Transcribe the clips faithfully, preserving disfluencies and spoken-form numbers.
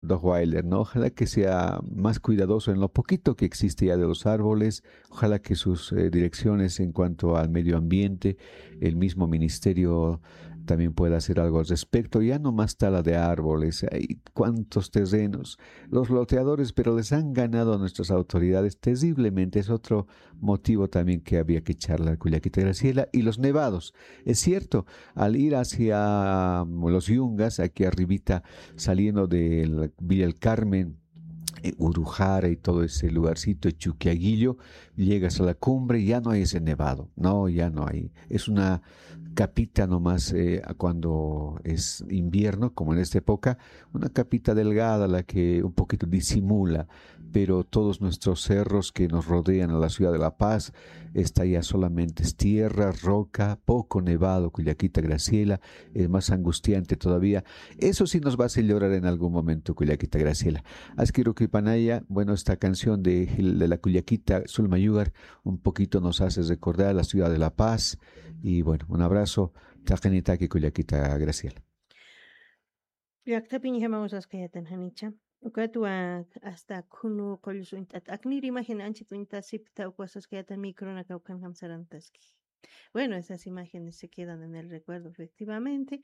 Doc Weiler, ¿no? Ojalá que sea más cuidadoso en lo poquito que existe ya de los árboles, ojalá que sus eh, direcciones en cuanto al medio ambiente, el mismo ministerio también pueda hacer algo al respecto. Ya no más tala de árboles, hay cuántos terrenos, los loteadores, pero les han ganado a nuestras autoridades terriblemente. Es otro motivo también que había que charlar, Cuyaquita Graciela, y los nevados. Es cierto, al ir hacia mm, los Yungas, aquí arribita, saliendo de Villa El Carmen, eh, Urujara y todo ese lugarcito, Chuquiaguillo, llegas a la cumbre y ya no hay ese nevado, no, ya no hay. Es una capita nomás eh, cuando es invierno, como en esta época, una capita delgada la que un poquito disimula, pero todos nuestros cerros que nos rodean a la ciudad de La Paz, está ya solamente es tierra, roca, poco nevado, Cuyaquita Graciela, es más angustiante todavía. Eso sí nos va a hacer llorar en algún momento, Cuyaquita Graciela. Askiruki Panaya, bueno, esta canción de, de la Cuyaquita Zulma Yugar un poquito nos hace recordar la ciudad de La Paz. Y bueno, un abrazo, taqinitaki Cuyaquita Graciela. Llaqtapiñjamaw saskayatan janicha. Ukatwa hasta khunu qullu suñt'at aknir imagen anchit uñt'asipta ukwa saskayatan micronaka ukanjam sarantaski. Bueno, esas imágenes se quedan en el recuerdo, efectivamente.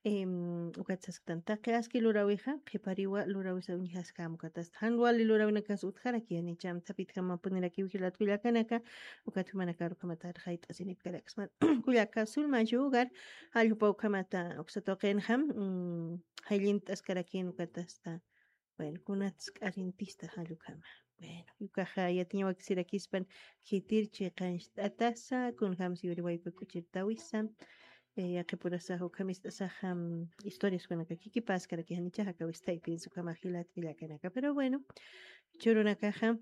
Em, ukat sasktan taqi aski lurawija qhipariwa lurawisa uñjaskäm ukatasta jan wali lurawinakas utjaraki janicham thapitjamapunirakiw jilat kullakanaka. Ukat jumanakaru kamatar jayt'asinipkaraksman kullaka Zulma Yugar jalljupa ukhamata uksa tuqinjam. Jallint'askarakin ukatasta. Bueno, kunatsk'arintista jallukama. Bueno, ukaxa yatiña wakisirakispan khitir chiqancht'atasa kunjamsi yuriwayku k'uchirtawisa. Yaqipurasaxa ukhamist'asaxa historias kunaka kikipaskarakijanichaxa kawistaypinsa ukhama jilat kullakanaka, pero bueno, churunakaxa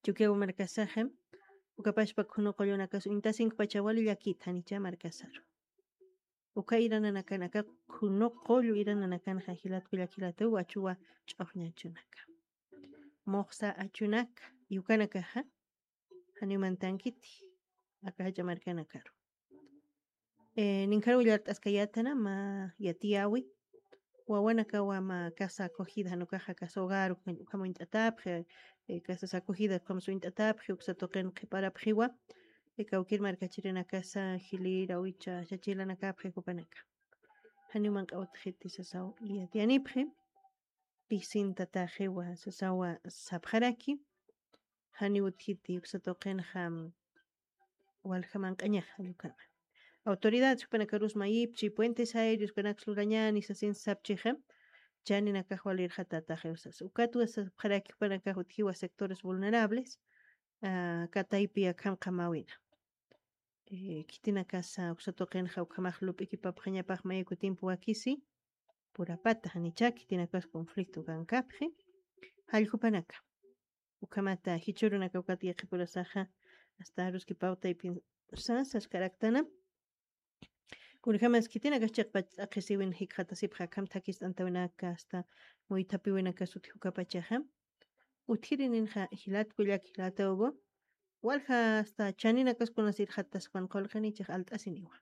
Chukiyaw markasaxa ukapashpa khunu qullunakas uñtasinkpacha wali llakita janicha markasaru. Uka irananakanaka khunu qullu irananakanxa jilatku llakilataw wachuwa ch'uxñachunaka, muxsa achunaka, y ukanakaxa janiw mantankiti aka jach'a markanakaru. Ninkhar willart'askayatana mä yatiyawi wawanakawa mä casa acogida jan ukaxa casa hogar ukham uñt'atapxi, casas acogida ukham suñt'atapxi uksa tuqin qhiparapxiwa. Kawkir markachirinakasa jilira uwicha chachilanakapxi jupanaka janiw manq'a utjiti sasaw yatiyanipxi. Pisintataxiwa sasawa sapxaraki janiw utjiti uksa tuqinxa walja manq'añaxa llukama. Autoridades jupanakarus mayipchi puentes aéreos kanaks lurañani sasin sapchixa chaninakax walirxatataxiw sasa ukatwa sapxaraki jupanakax utjiwa sectores vulnerables. Kataypi akham qhamawina khitinakasa uksa tuqinxa ukhamax lup'ikipapxañapax mayuku tiempo wakisi purapata janicha khitinakas conflicto kankapxi jalljupanaka. Ukhamata jichhürunaka ukat yaqhipurasaxa hasta aruski pawtaypin sasas karaktana. Kunjamas khitinakas chiqpach t'aqhisiwin jikxatasipxa akham thakist'antawinaka hasta muythapiwinakas utji ukapachaxa utjirininxa jilatkullak jilatawgu walja hasta chaninakas kunas irxataspan qulqinichix alt'asiniwa.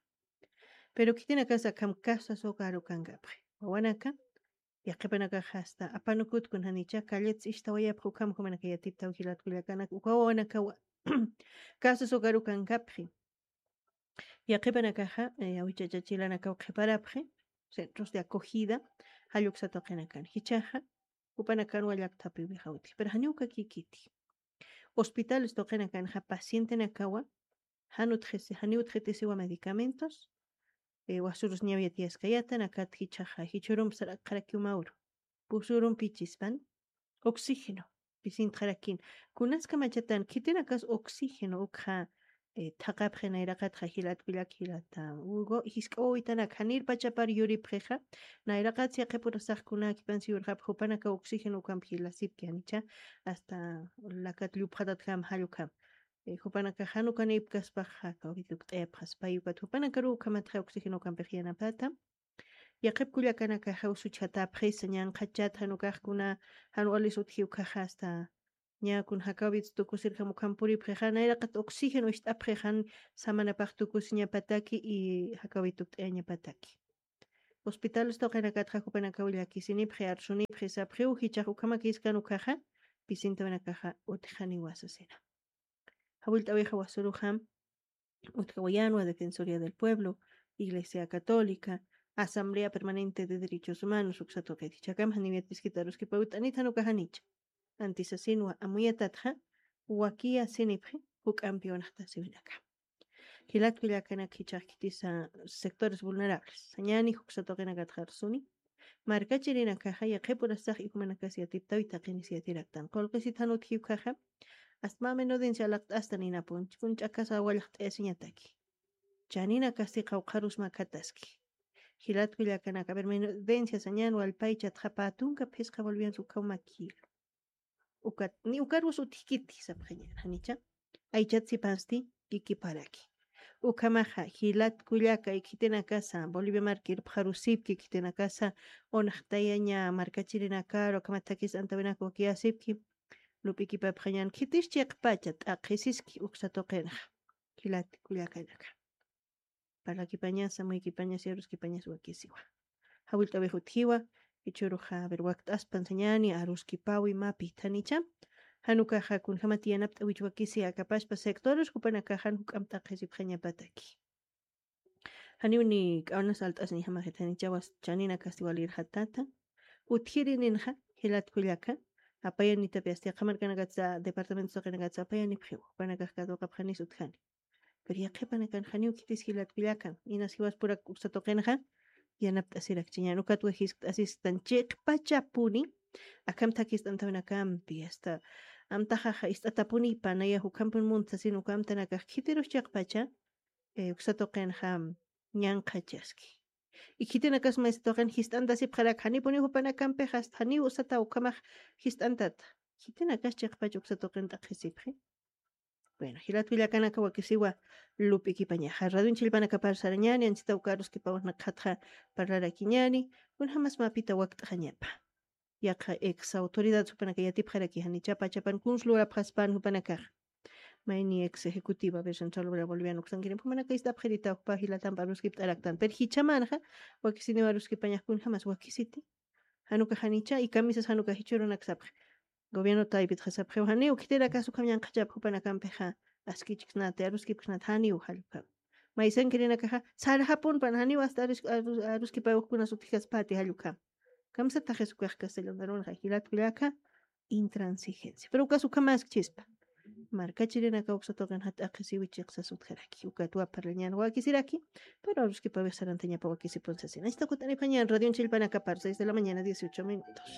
Pero khitinakas akham casas hogar ukankapxi wawanaka yaqhipanakax hasta apanukut kunjanicha calletsa istawayapxi ukham jumanaka yatiptaw jilatkullakanak uka wawanakawa casas hogar ukankapxi. Yaqhipanakaxa awichachachilanakaw qhiparapxi centros de acogida jalluksa tuqinakan jichaxa jupanakanwa llakthapiwixawti pero janiw kakikiti. Hospitales tuqinakanxa pacientenakawa jan utxisi janiw utxitisiwa medicamentos. Wasurus ñaw yatiyaskayatan akat jichhaxa jichhurump sarakxarakiw mawru pusurump ichispan oxígeno pisintxarakin. Kunaska machatan khitinakas oxígeno ukxa thaqapxi nayraqatxa jilat kullak jilata ugo jisk'a wawitanak janir pachapar yuripxixa nayraqat siqhipurasax kunakipansi yurxapxi jupanaka oxígeno ukamp jilasipki janicha hasta lakat llupxatatjam jallukam. Jupanaka jan ukanipkaspaxa kawkitukt'ayapxas pay ukat jupanakaru ukhamatxa oxígeno ukampix yanapata. Yaqhip kullakanakaxa usuchjatapxisa ñanqhachat jan ukaxkuna jan walis utji ukhaxa hasta ña kun jakawits tukusirjam ukham puripxixa nayraqat oxígeno ist'apxixa jan samanapax tukusiñapataki y jakawit tukt'ayañapataki. hospitales tuqinakatxa jupanakaw llakisinipxi, arsunipxi, sapxiw jichhax ukhamakiskan ukkhaxa, pisintawinakaxa utjaniwa sasina. Jawillt'awixa wasuruxa utjawayänwa Defensoría del Pueblo, Iglesia Católica, Asamblea Permanente de Derechos Humanos uksa tuqit. Jichhakam janiw yatiskit aruskipaw ut'anit jan ukax janicha. Antisasinwa amuyatatxa, wakiyasinipxi, juk'ampiw naxtasiwinaka. Jilat kullakanak jichhax khitisa sectores vulnerables. Sañäni uksa tuqinakatxa arsuni. Markachirinakaxa yaqhipurastax ijumanakas yatiptawi taqinis yatiraktan. Qullqisit jan utji ukkhaxa, asta mä menudencia alaqt'astan inapun, ch'akun ch'akasa wallaqt'ayasiñataki. Chaninakasti qawqharus makataski. Jilat kullakanaka, a ver, menudencia sañän wallpaychatxa pä tunka phisqa bolivianos ukkhaw makïlu. Ukat, ni ukarus utjkiti sapxañän, janicha. Aychat sipansti ikiparaki. Ukhamaxa, jilat kullaka, khitinakasa, Bolivia marka irpxarusipki, khitinakasa, unaxtayaña markachirinakaru, ukhamat thakis antawinaka wakiyasipki, lup'ikipapxañän, khitis chiqpacha t'aqhisiski uksa tuqinxa. Jilat kullakanaka. Parlakipañas, amuykipañas, yaruskipañas wakisiwa. Jawillt'awix utjiwa, jichhüruxa, a ver, wakt'aspan sañäni, aruskipawi mä pithanicha. Jan ukaxa kunjamat yanapt'äwich wakisi akapaspa sectores jupanakax jan juk'amp t'aqhisipxañapataki. Janiw ni k'awnas alt'asñjamaxit janichawas chaninakasti walirjatata. Utjirininxa, jilat kullaka, apayanitapi asta yaqha markanakatsa, departamentos tuqinakatsa apayanipxiw, jupanakax katuqapxanis utjani. Pero yaqhipanakan janiw khitis jilat kullakan, inas jiwaspurak uksa tuqinxa, yanapt'asirakchiñän, ukatwa jiskt'asistan chiqpachapuni, akham thakist'antawinakampi, asta amtaxaxa ist'atapunipa, naya jukhampun muntsasin uka amtanakax khitirus chiqpacha, eh, uksa tuqinxa ñanqhachaski. Y khitinakas maysa tuqin jist'antasipxarak, janipuniw jupanakampix asta janiw usata ukhamax jist'antata. Khitinakas chiqpach uksa tuqin t'aqhisipxi. Bueno, jilat kullakanaka wakisiwa lup'ikipañaxa. Radion chillpanakapar sarañäni, anchita uka aruskipaw naqhatxa parlarakiñäni, kunjamas mä pita wakt'xañapa. Yaqha ex autoridad jupanaka yatipxaraki janicha pachapan kuns lurapxaspan jupanakax. Mayni ex ejecutiva de Central Obrera Boliviana uksankirim jupanaka ist'apxirita jukpa jilatamp aruskipt'araktan. Pero jichhamanxa, wakisiniw aruskipañax kunjamas wakisiti. Jan ukax janicha, y kamisas jan ukax jichhürunak sapxi. Gobierno taypitxa sapxiw janiw, khitinakas ukham ñanqhachapxi jupanakampixa, askichksnati, aruskipksnati, janiw jall ukham. Maysankirinakaxa, sarxapunpan janiw asta arus-, arus-, aruskipawix kunas utjkaspati jall ukham. Kamsataxis ukax castellano darunxa, jilat kullaka, intransigencia. Pero ukas ukhamaskchispa. Markachirinaka uksa tuqin jat'aqisiwi chiqsas utjaraki. Ukatwa parlañän wakisiraki, pero aruskipawix sarantañapa wakisipun sasina. Achta kut'anipxañän radion chillpanakapar, seis de la mañana, dieciocho minutos.